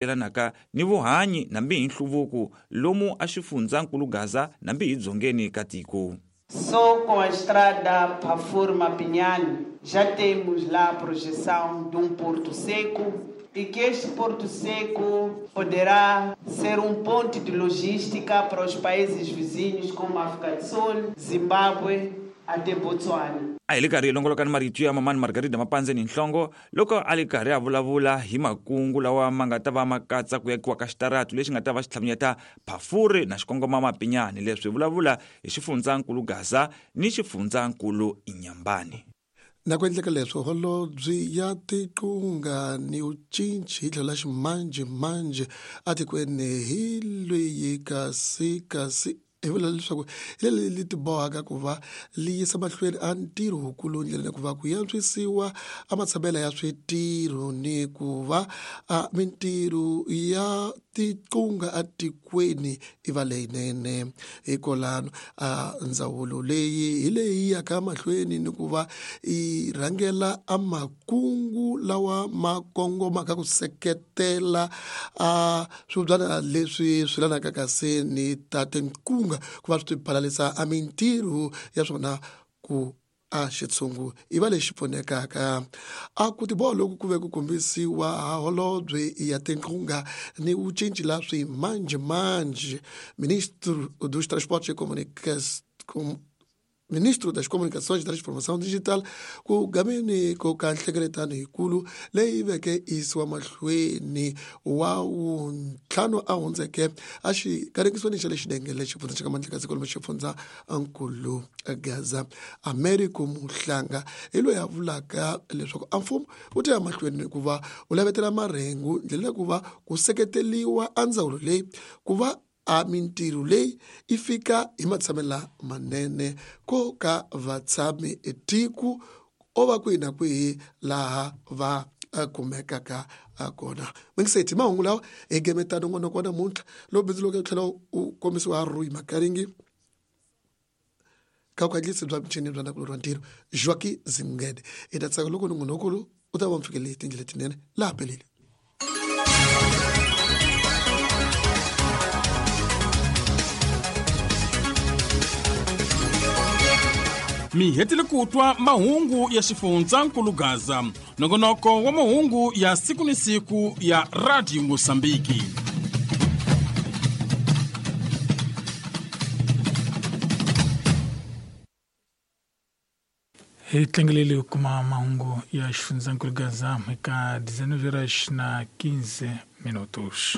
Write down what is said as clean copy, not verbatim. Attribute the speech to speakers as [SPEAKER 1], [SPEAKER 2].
[SPEAKER 1] Yelanaka ni vuhanyi nambi hi nhluvuko lomu a xifundzankulu Gaza nambi hi dzongeni ka tiko.
[SPEAKER 2] Só com a estrada Pafuri-Mapinyane já temos lá a projeção de um porto seco e que este porto seco poderá ser um ponto de logística para os países vizinhos como África do Sul, Zimbábue até Botswana.
[SPEAKER 1] A hi le karhi hi longoloka ni marito ya Mamani Margarida Mapandzeni Nhlongo loko a li karhi a vulavula hi makungu lawa ma nga ta va ma katsa ku yakiwa ka xitaratu lexi nga ta va xi tlhavunyeta Phafuri na xikongoma Mapinyani. Leswi vulavula hi xifundzankulu Gaza ni xifundzankulu Inyambani.
[SPEAKER 3] Na ku endleka leswo, holobye ya tiqunga ni vucinci hi tlhelo la ximanjhemanjhe atikweni hi lweyi kasi kasi hi vula leswaku hi leli li tibohaka ku va li yisa mahlweni a ntirho wukulu ndlela ya ku va ku yantswisiwa a matshamela ya switirho ni ku va a mintirho ya tiqunga atikweni i va leyinene. Hikwalano a ndzawulo leyi hi leyi yaka mahlweni ni ku va yi rhangela a makungu lawa ma kongomaka ku seketela a swibyana leswi swi lanaka kasi ni ta tinqunga ku va swi tibalalisa a mintirho ya swona ku a xitshungu i va lexi pfunekaka. A ku tiboha loku ku ve ku kombisiwa ha holobye ya tinqunga ni vucinci la swimanjhemanjhe, ministro dos Transportes e Comunicações, ministro das Comunicações e Transformação Digital, ku gameni ko ka nhlengeletano yikulu leyi veke yisiwa mahlweni wa wuntlhanu a hundzeke a xikarekisweni xa le xidengele xifundza xa ka Mandlakazi kwalomu xifundza nkulu Gaza. Americo Muhlanga hi loyi a vulaka leswaku a mfumo wu ta ya mahlweni ku va wu lavetela marhengu ndlela ya ku va ku seketeriwa a ndzawulo leyi ku va a mintirho leyi yi fika hi matshamelo manene ko ka vatshami tiko o va kwihi na kwihi laha va kumekaka kona. Mingiseti mahungu lawa hi gemeta nongonoko wa namuntlha lowu bindzu loko tlhela u kombisiwa Rui Makaringi ka vukandziyisi bya michini bya ndzhaku wa ntirho Joaquim Zingede. Hi ta tsaka loko nongonoko lowu u ta va mi fikelele hi tindlela letinene laha pelele.
[SPEAKER 4] Mi hetile ku twa mahungu ya xifundzankulu Gaza, nongonoko wa mahungu ya siku ni siku ya Radio Mosambiki.
[SPEAKER 5] Hi tlangelele ku kuma mahungu ya xifundzankulu Gaza eka 19 horas na 15 minutos.